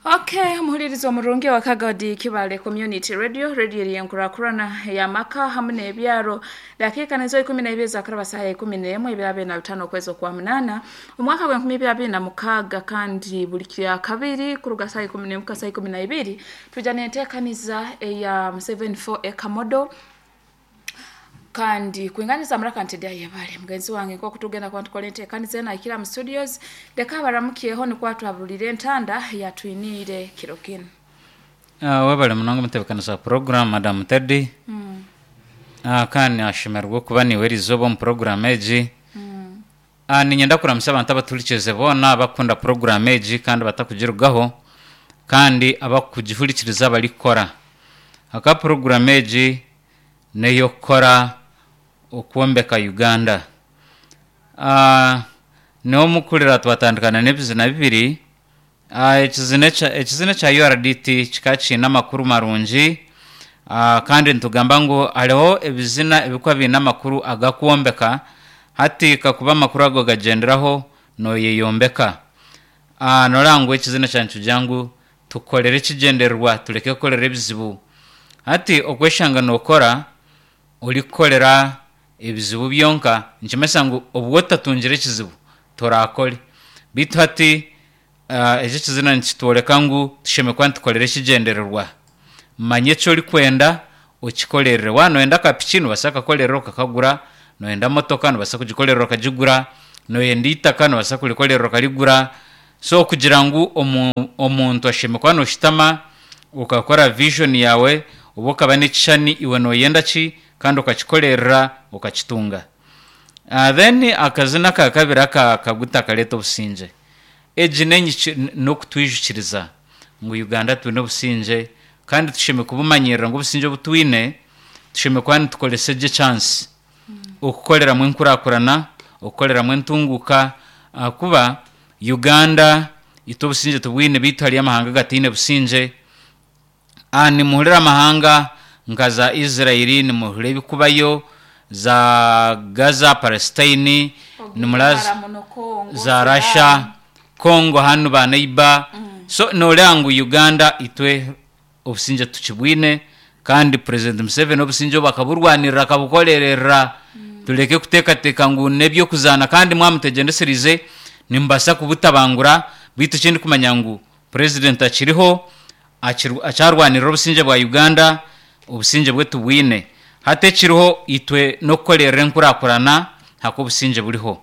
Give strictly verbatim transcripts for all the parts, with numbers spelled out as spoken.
Okay, omuhuririzi omurungi wa Kagadi Kibale Community Radio, radio eyenkurakurana y'amaka hamwe n'ebyaro. Dakiika nizo ikumi na ibiri zakaraba saha ikumi n'emwe ebiro abiri na bitaano okwezi okwa munaana omwaka gw'enkumi ibiri abiri na mukaaga, kandi buli kya kabiri kuruga saha ikumi n'emwe kuhika saha ikumi na ibiri tuja n'enteekaniza eya seven four ekamodo kandi kwinganiza muraka ntedi ayebale mugenzi wange nk'oku tugenda kuba ntukora enteekaniza eno ahikira mu studios. Leka abaramukiyeho nikwo atwabulire entanda yatwiniire kiro kinu. Uh, webale munonga mutebekanisa wa program Madam Teddy. mm. uh, kandi ashemererwa okuba niwe eriizooba omu program egi. mm. uh, niinyenda kuramusa abantu abaturikize boona abakunda program egi kandi batakugirugaho kandi abakugihurikiriza barikukora aka program egi n'ey'okukora okwombeka Uganda. uh, niwe omukurira twatandikana n'ebizina bibiri. uh, ekizina ekya- ekizina ekya U R D T kikaba kiine amakuru marungi, uh, kandi nitugamba ngu hariho ebizina ebikuba biine amakuru agakwombeka. Hati kakuba amakuru ago gagyenderaho noyeyombeka. uh, noreba ngu ekizina kyangye nikigira ngu tukorere ekigyendererwa, tureke kukorera ebizibu. Hati okweshanga nokora orikukorera ebizibu byonka nikimanyisa ngu obwo otatungire ekizibu torakore. Beitu hati uh, eki ekizina nikitworeka ngu tushemereire kuba nitukorera ekigyendererwa. Manya eki orikwenda okikorerere. Waaba noyenda akapiki, nobaasa kukakorera okakagura. Noyenda motoka, nobaasa kugikorera okagigura. Noyenda eitaka, nobaasa kurikorera okarigura. So kugira ngu omu- omuntu ashemereire kuba noshutama okakora vision yawe oba okaba n'ekishushani iwe noyenda ki kandi okakikorerera okakitunga. uh, then akazina aka kabiri aka kaguta kareeta obusingye. Egi n'enyiki- n'okutwijukiriza ngu Uganda twine obusingye kandi tushemereire kubumanyirira ngu obusingye obu twine tushemereire kuba nitukoresa gye chance okukoreramu enkurakurana, okukoreramu entunguka, ahakuba Uganda itwe obusingye tubwine, beitu hariyo amahanga agataine busingye. Ah, nimuhurira amahanga nka za Israeli, nimuhurira ebikubayo za Gaza, Palestine, nimuraba Ogihara muno Congo, za Sudan. Russia, Congo hanu baneiba. So noreba ngu Uganda itwe obusingye tukibwine, kandi President Museveni obusingye obu akaburwanirira, akabukorerera. Tureke kuteekateeka ngu n'ebyokuzaana, kandi mwamutegyendesereize nimubasa kubutabangura. Beitu ekindi kumanya ngu president akiriho, akiri- akyarwanirira obusingye bwa Uganda. Obusingye bwe tubwine. Hati ekiriho itwe n'okukorerera enkurakurana haka obusingye buriho.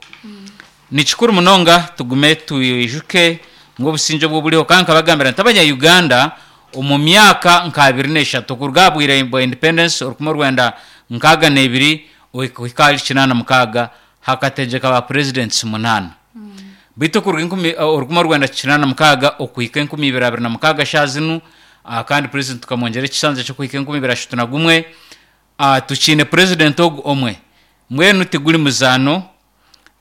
Ni kikuru munonga tugume twijuke ngu obusingye obwo buriho. Kandi nkabagambira nti abanya Uganda omu myaka nka abiri n'eshatu okuruga aha bwire bwa independence orukumi orwenda nkaaga n'ebiri okuhika ahari kinaana mukaaga hakategyeka ba presidents munaana. Beitu okuruga enkumi orukumi orwenda kinaana mukaaga okuhika enkumi ibiri abiri na mukaaga shaaha zinu, ah, kandi president tukamwongyera ekisanja ky'okuhika enkumi ibiri ashatu na gumwe, ah, tukiine president ogu omwe. Mbwenu tiguri muzaano.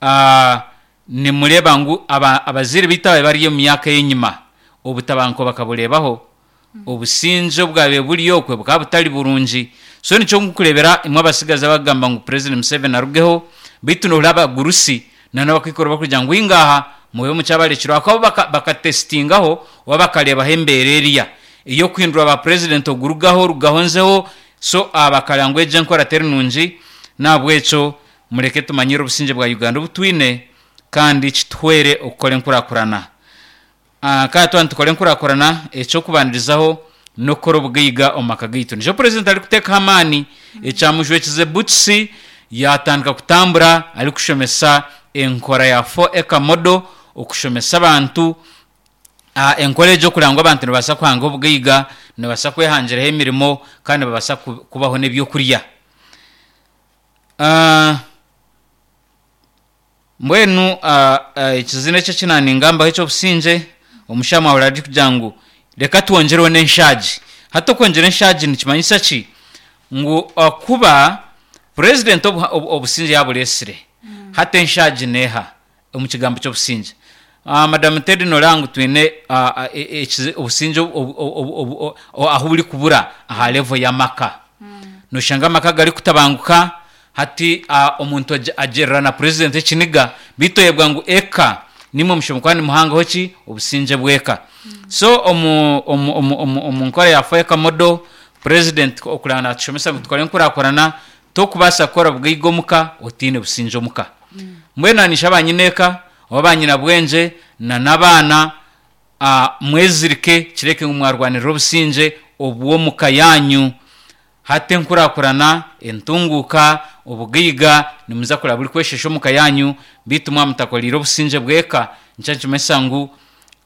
ah, nimureeba ngu aba- abazaire beitu ababaire bari omu myaka ey'enyima obutabanguko bakabureebaho, obusingye obwabaire buri okwe bukaba butari burungi. So nikyo nkukureebera imwe abasigazi abagamba ngu President Museveni arugeho, beitu nohurira abagurusi n'abakaikuru bakugira ngu ingaha mube mukyabarekire, ahakuba baka, bakatesitingaho oba bakareebaho embeera eriya ey'okuhindura ba president, ogurugaho orugaho nzeho. So ah, bakareba ngu egyo enkora teri nungi. Nahabwekyo mureke tumanyire obusingye bwa Uganda obu twine kandi kituhwere okukora enkurakurana. Ah, kandi twaba nitukora enkurakurana, ekyokubandirizaho n'okukora obugaiga omu maka gaitu. Nikyo president arikuteekaho amaani, ekyamujwekize butisi yatandika kutambura arikushomesa enkora ya four acre model, okushomesa abantu ah, enkora egyo kureba ngu abantu nibabaasa kuhanga obugaiga, nibabaasa kwehangiraho emirimo kandi nibabaasa ku- kubaho n'ebyokurya. Ah, mbwenu ah, ah, ekizina ekyo ekinaningambaho eky'obusingye, omushaho mwahurira arikugira ngu reka twongyereho n'enshaagi. Hati okwongyera enshaagi nikimanyisa ki? Ngu okuba president obu- obu- obusingye yabureesire, hati enshaagi neeha omu kigambo ky'obusingye? uh, Madam Teddy, noreba ngu twine ah, ah, e- ekizi- obusingye obu- obu- obu- obu- ahu buri kubura aha level y'amaka. Noshanga amaka garikutabanguka. Hati ah, omuntu ag- agirira na president ekiniga, beitu oyebwa ngu eka Nimwe mushomo kwani muhangaho ki obusinge bweka. So omu omu omu omu, omu nkora ya Foeka Modo president okulana tushomesa tukore nkurakurana tokubasa kukora bugaiga omuka otiine businge omuka. Mbwenu anisha abanyineka oba banyina bwenje na n'abaana uh, mwezirike kireke ngu mwarwanirira obusinge obw'omuka yanyu. Hati enkurakurana entunguka obugaiga nimuza kuraba buri kweshesha omuka yanyu, bitu mwamutakolire obusinge bweka. Nkyakimesa ngu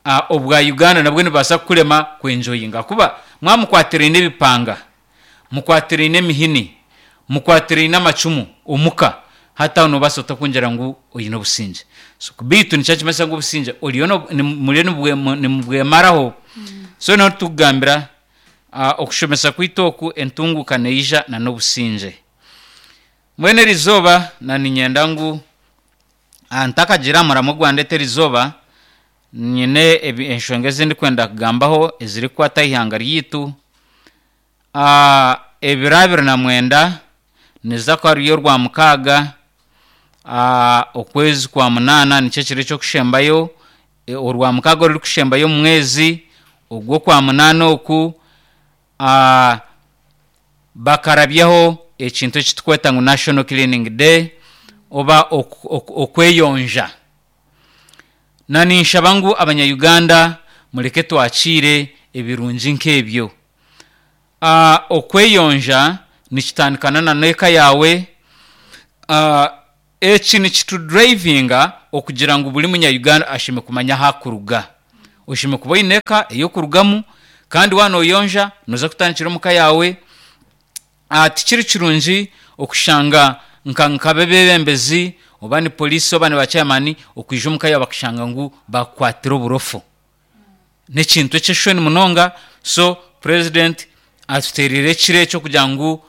uh, obwa Uganda nabwo nibaasa kukurema kwenjoyinga, kuba mwamukwatiraine ebipanga, mukwatiraine emihini, mukwatiraine amacumu omuka, hati aho nobaasa otakwongyera ngu oine obusinge. So bitu nikyakimesa ngu obusinge oriyo no- ni- muriyo nibwe- nimubwemaraho. So niho tukugambira uh, okushomesa kwitu oku entunguka neija na n'obusinge. Mbwenu eriizooba na ninyenda ngu ah, ntakagira muramo gwandeta eriizooba nyine ebi- enshonga ezindikwenda kugambaho ezirikukwata ihanga ryitu. Ah, ebiro abiri na mwenda niza kuba ruri orwa mukaaga, ah, okwezi kwa munaana nikyo ekiro ekyokushembayo, e, orwa mukaaga orurikushembayo omu mwezi ogw'okwa munaana oku, ah, bakarabyaho ekintu ekitukweta ngu National Cleaning Day oba oku- oku- okweyonja. Na ninshaba ngu abanya-Uganda mureke twakiire ebirungi nk'ebyo. Ah, okweyonja nikitandikana na n'eka yawe. Ah, eki nikitudrivinga okugira ngu buri munya-Uganda ashime kumanya ahakuruga. Oshime kuba oine eka ey'okurugamu, kandi waanoyonja noza kutandikira omuka yawe. Ah, tikiri kirungi okushanga nka nk'abebembezi oba ni polisi oba ni bachairman okwija omuka yawe bakashanga ngu bakukwatira oburofu. N'ekintu eky'eshoni munonga. So president atuteerire ekiro ekyo kugira ngu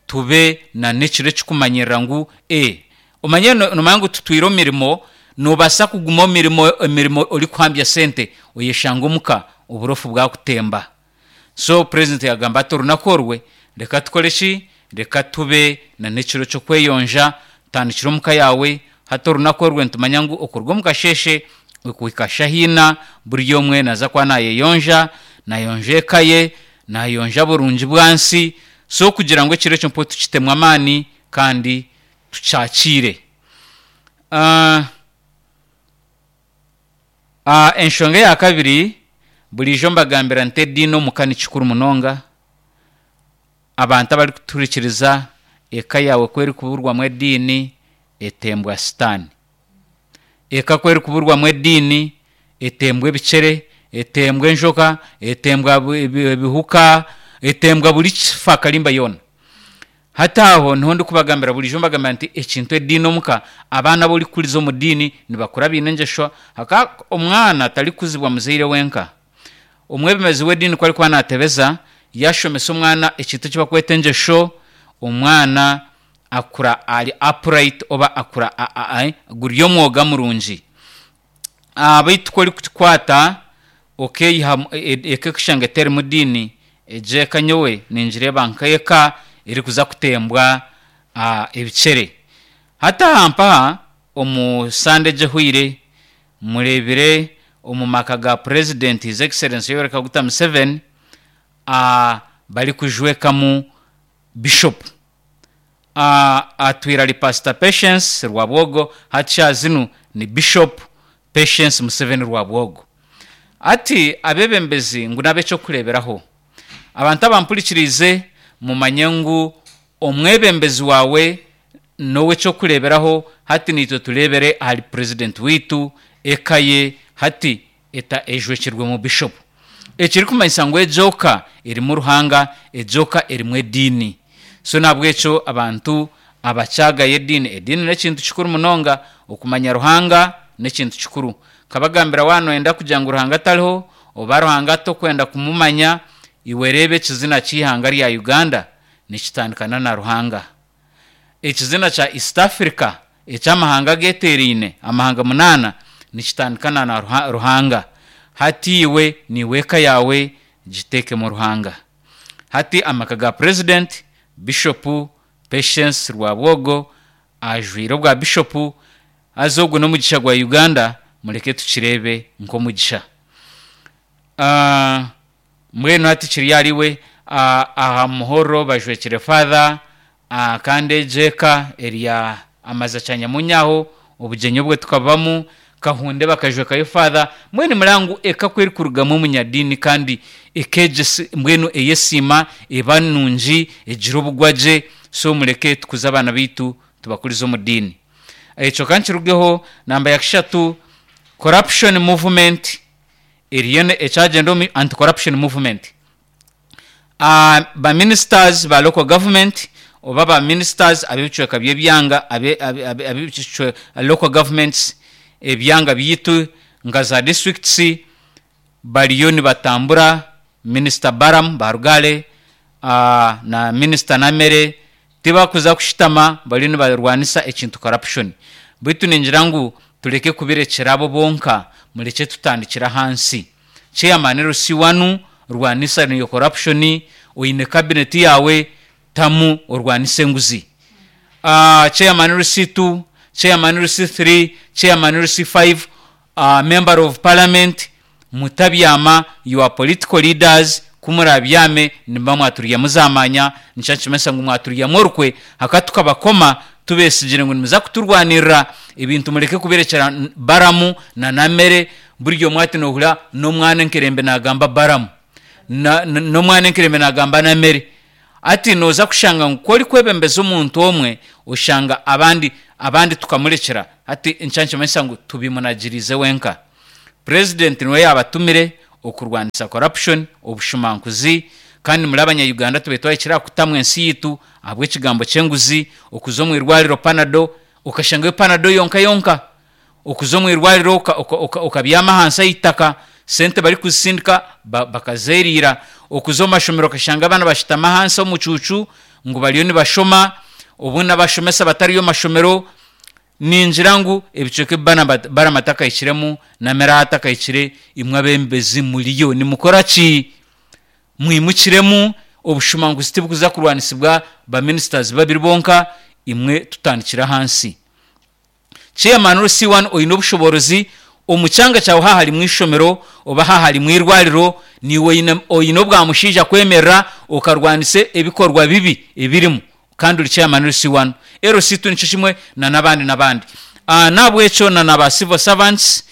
tube na n'ekiro ekikumanyirira ngu e omanye no- nomanya ngu tutwire omu mirimo, nobaasa kuguma omu mirimo emirimo orikuhambya sente oyeshanga omuka oburofu bwakutemba. So president yagamba ati orunaku orwe reka tukore ki, reka tube na n'ekiro ky'okweyonja, tandikira omuka yawe. Hati orunaku orwe nitumanya ngu okuruga omu kasheshe okuhika shahina buri omwe naza kuba nayeyonja, nayonja eka ye, nayonja burungi bwansi. So kugira ngu ekiro ekyo mpo tukitemu amaani kandi tukyakiire. Uh, uh, enshonga eya kabiri burijo mbagambira nti ediini omuka ni kikuru munonga. Abantu abarikuturikiriza eka yawe ku erikuburwamu ediini etembwa sitaani. Eka ku erikuburwamu ediini etembwa ebicere, etembwa enjoka, etembwa bu- ebi- ebihuka, etembwa buri kifa karimba yoona. Hati aho niho ndikubagambira burijo mbagambira nti ekintu ediini omuka, abaana aborikuriza omu diini nibakura biine engyesho. Haka omwana atarikuzibwa muzaire wenka. Omwebembezi w'ediini ku arikuba naatebeza yashomesa omwana ekintu eki bakweta engyesho, omwana akura ari upright oba akura a- a- a- guri omwoga murungi. Ah, baitu ku orikukikwata okeyiha eka ekushanga eterimu diini, egyo eka nyowe ningireeba nk'eka erikuza kutembwa ah, ebicere. Hati aha mpaha omu Sande egyo ehwaire mureebire omu maka ga president His Excellency Yoweri Kaguta Museveni ah, barikujwekamu bishop. Ah, atwire ari Pastor Patience Rwabwogo, hati shaaha zinu ni Bishop Patience Museveni Rwabwogo. Ati abebembezi ngu n'ab'ekyokureeberaho. Abantu abampurikiriize mumanye ngu omwebembezi wawe n'ow'ekyokureeberaho. Hati niitwe tureebere ahari president witu, eka ye hati eta ejwekirwemu bishop. Ekirikumanyisa ngu egyoka erimu Ruhanga, egyoka erimu ediini. So nahabwekyo abantu abakyagayo ediini, ediini n'ekintu kikuru munonga, okumanya Ruhanga n'ekintu kikuru. Nkabagambira waanoyenda kugira ngu Ruhanga tariho oba Ruhanga tokwenda kumumanya, iwe reeba ekizina ky'eihanga rya Uganda nikitandikana na Ruhanga. Ekizina kya East Africa eky'amahanga ageeteeraine amahanga munaana nikitandikana na Ruha- Ruhanga. Hati iwe niiwe eka yawe giteekemu Ruhanga. Hati amaka ga president Bishop Patience Rwabwogo ajwire obwa bishop, haza ogwo n'omugisha gwa Uganda Mureke tukirebe nk'omugisha. Ah, mbwenu hati kiri ariwe ah, aha muhoro bajwekire father, ah, kandi egi eka erya amaza kyanyamunyaho obugyenyi obwe tukabamu kahunde bakajwekayo father. Mbwenu murangu eka kwerikurugamu omunyadiini kandi ekegyesa, mbwenu eyesiima eba nungi egira obugwagye. So mureke tukuze abaana baitu, tubakurize omu diini. Ekyo kankirugeho. Namba ya kishatu, corruption movement eriyo ne- ekyagenda omu anti corruption movement. uh, ba ministers ba local government oba ba ministers ab'ebicweka by'ebyanga abe- abe- abe- ab'ebicwe- local governments, ebyanga byitu nka za districts, bariyo nibatambura. Minister Baram Barugale uh, na Minister Namere tibakuza kushitama, bariyo nibarwanisa ekintu corruption. Baitu ningira ngu tureke kubirekyera abo bonka, mureke tutandikira hansi. Chairman R C wanu, rwanisa niyo corruption. Oine cabinet yawe, tamu orwanise enguzi. uh, chairman R C two, chairman R C three, chairman R C five, uh, member of parliament, mutabyama. You are political leaders. Kumurabyame nimba mwaturya muzamanya nikyo ngu mwaturyamu orukwe haka tukabakoma tubesigire ngu nimuza kuturwanirira ebintu. Mureke kubirekyera Baramu na Namere. Buryo mwati nohura n'omwana enkerembe nagamba Baramu, na- na- n'omwana enkerembe nagamba Namere. Ati noza kushanga ngu kori kwebembeza omuntu omwe, oshanga abandi abandi tukamurekera. Ati nkyankimanyisa ngu tubimunagirize wenka. President niwe yabatumire okurwanisa corruption, obushumankuzi. Kandi muri abanya-Uganda tube twahikire aha kutamwa ensi yitu ahabw'ekigambo ky'enguzi. Okuza omu irwariro, Panado, okashangayo Panado yonka yonka. Okuza omu irwariro oka- oka- oka- okabyama ahansi ay'itaka, sente barikuzisindika ba- bakazeriira. Okuza omu mashomero okashanga abaana bashutama ahansi omucuucu ngu bariyo nibashoma, obundi abashomesa batariyo mashomero. Ningira ngu ebicweka ebi bana bat- Barama atakahikiremu, Namere atakahikire, imwe abembezi muriyo nimukora ki? Mwimukiremu. Obushumanguzi tibukuza kurwanisibwa ba ministers babiri bonka. Imwe tutandikira hansi. Chairman R C one, oine obushoborozi omu kyanga kyawe, haha harimu ishomero oba haha harimu irwariro, niwe oine- oine obwamushaija kwemerera okarwanisa ebikorwa bibi ebirimu, kandi uri chairman R C one, L C two nikyo kimwe, na n'abandi n'abandi. uh, nabwekyo na naba civil servants,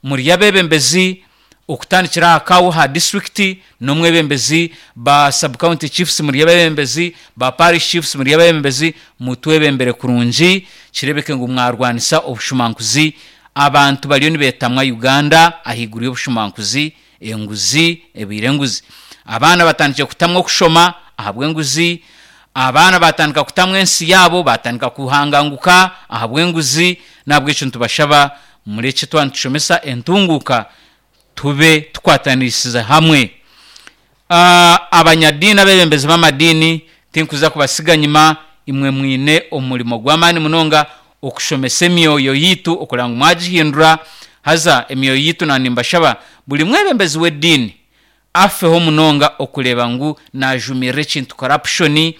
muri abebembezi okutandikira aha kawo ha district n'omwebembezi, ba sub county chiefs muri abebembezi, ba parish chiefs muri abebembezi, mutwebembere kurungi kirebeke ngu mwarwanisa obushumankuzi. Abantu bariyo nibetamwa Uganda ahaiguru y'obushumankuzi, enguzi ebiire enguzi. Abaana batandikire kutamwa okushoma ahabw'enguzi. Abaana batandika kutamwa ensi yaabo, batandika kuhanganguka ahabw'enguzi. Nabwekyo nitubashaba mureke twaba nitushomesa entunguka tube tukwatanisize hamwe. uh, abanyadiini, abebembezi b'amadiini, tinkuza kubasiga nyima. Imwe mwine omurimo gw'amaani munonga okushomesa emyoyo yitu, okureba ngu mwagihindura. Haza emyoyo yitu, nanimbashaba buri mwebembezi w'ediini afeho munonga okureba ngu najumirira ekintu corruption.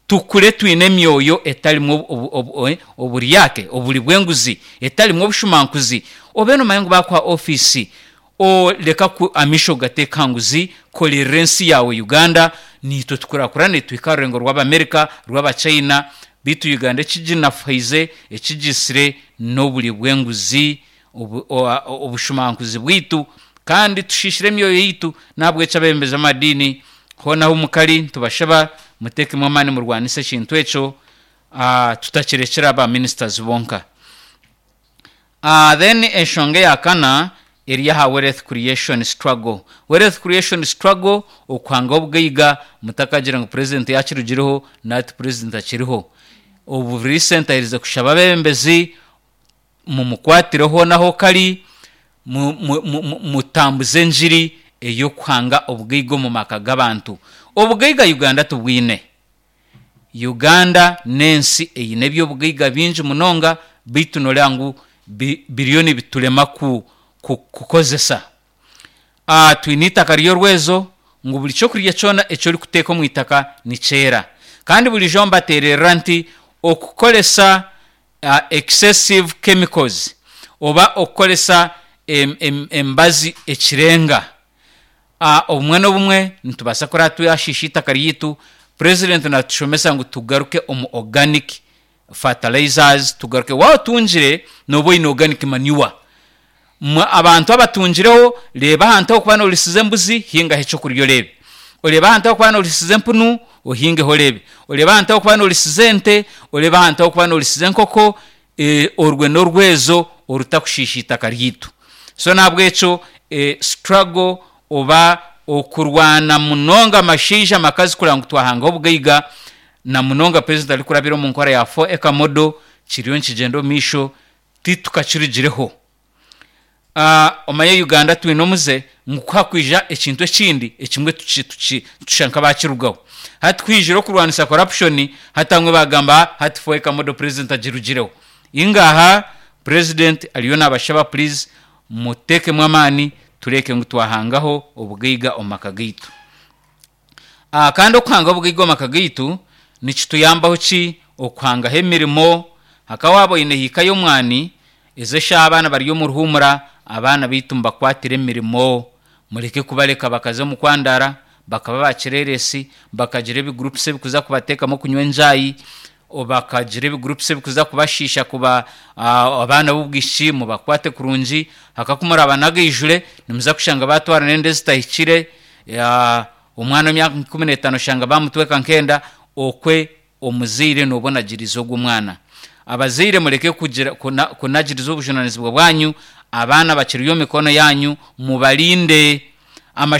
Tukure twine emyoyo etarimu obu- obu- obu- oburyake, oburi bw'enguzi, etarimu obushumankuzi. Obe nomanya ngu bakuha ofiisi, oleka ku amisho gateeka nguzi. Korera ensi yawe Uganda. Nitwe tukurakurane tuhika rurengo rw'Abamerika, rw'Abachina, bitu Uganda ekiginafaize ekigisire n'oburi bw'enguzi, obu- o- obushumankuzi bwitu, kandi tushishire emyoyo yitu. Nabwekyo abebembezi b'amadiini honaho mukari, ntubashaba mutekemu amaani murwanise ekintu ekyo, uh, tutakirekera aba ministers bonka. uh, then enshonga eya kana eri aha wealth creation struggle. Wealth creation struggle, okuhanga obugaiga. Mutakagira ngu president yakirugireho, nati president akiriho. Obu recent aherize kushaba abebembezi mumukwatireho naho kari mu- mu- mu- mu- mutambuze enjiri ey'okuhanga obugaiga omu maka g'abantu. Obugaiga Uganda tubwine. Uganda n'ensi eine ebyobugaiga bingi munonga, baitu noreba ngu bi- biriyo nibiturema ku, ku, kukozesa. uh, twine itaka ry'orwezo ngu buri kyokurya kyona ekyorikuteeka omu itaka nikyera. Kandi burijo mbatererera nti okukoresa uh, excessive chemicals oba okukoresa em, em, embazi ekirenga. Ah, obumwe n'obumwe nitubaasa kuraba twashiisha itaka ryitu. President natushomesa ngu tugaruke omu organic fertilizers, tugaruke waaba otungire nooba oine organic manure. Mwe abantu abatungireho, reeba ahantu ahokuba noorisiza embuzi, hingaho ekyokurya oreebe. Oreebe ahantu ahokuba noorisiza empunu, ohingeho oreebe. Oreebe ahantu ahokuba noorisiza ente, oreebe ahantu ahokuba noorisiza enkoko, eh, orwe n'orwezo orutakushiisha itaka ryitu. So nahabwekyo eh, struggle oba okurwana munonga amashaija amakazi kureba ngu twahangaho obugaiga, na munonga president arikurabira omu nkora ya four acre model, kiriyo nikigyenda omu maisho, titukakirugireho. Uh, omanye Uganda twine omuze ngu ku hakwija ekintu ekindi ekimwe tuki- tuki- tusha nk'abakirugaho. Hati kwijire okurwanisa corruption, hati bamwe bagamba hati four acre model president agirugireho. Ingaha president ariyo nabashaba, please mutekemu amaani, tureke ngu twahangaho obugaiga omu maka gaitu. Ah, kandi okuhanga obugaiga omu maka gaitu nikituyambaho ki? Okuhangaho emirimo. Hakaba waaba oine hiika y'omwani, ezo eshaaha abaana bari omu ruhumura, abaana baitu mubakwatire emirimo, mureke kubareka bakaza omu kwandara, bakaba bakireresi, bakagira ebigurupusi ebikuza kubateekamu kunywa enjaayi, o bakagira ebigurupusi ebikuza kubashiisha kuba ah, abaana b'obwishiki mubakwate kurungi. Hakakumuraba nagaijure nimuza kushanga batwara n'enda ezitahikire. Ya, omwana w'emyaka ikumi n'etaano oshanga bamutweka nk'enda. Okwe omuzaire nooba onagiriza ogwo mwana. Abazaire mureke kugira kuna, kunagiriza obujunanizibwa bwanyu, abaana bakiri omu mikono yanyu, mubarinde amashomero.